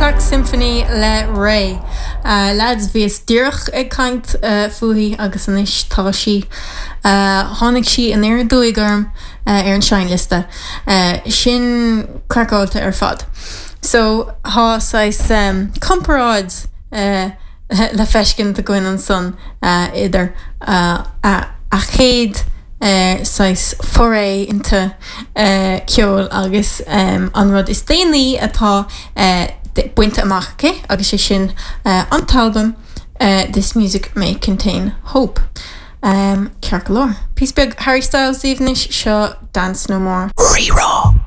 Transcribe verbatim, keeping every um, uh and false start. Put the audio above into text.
Crack Symphony le Rae. Uh, lads bhíos díreach ag caint uh, fúithi agus anois tá sí uh, tháinig sí aniar aduaidh orm uh, ar an seinnliosta. Uh, sin craiceáilte ar fad. So tá saghas um, comparáid uh, le feiscint againn ansan uh, idir uh, a, a chéad uh, saghas foray into uh, ceol agus um, an rud is déanaí atá uh, bainte amach aici agus sé sin uh, an t-albam uh, This Music May Contain Hope. Um, Ceart go leor. Píosa beag Harry Styles daoibh anois seo Dance No More. Rí-Rá.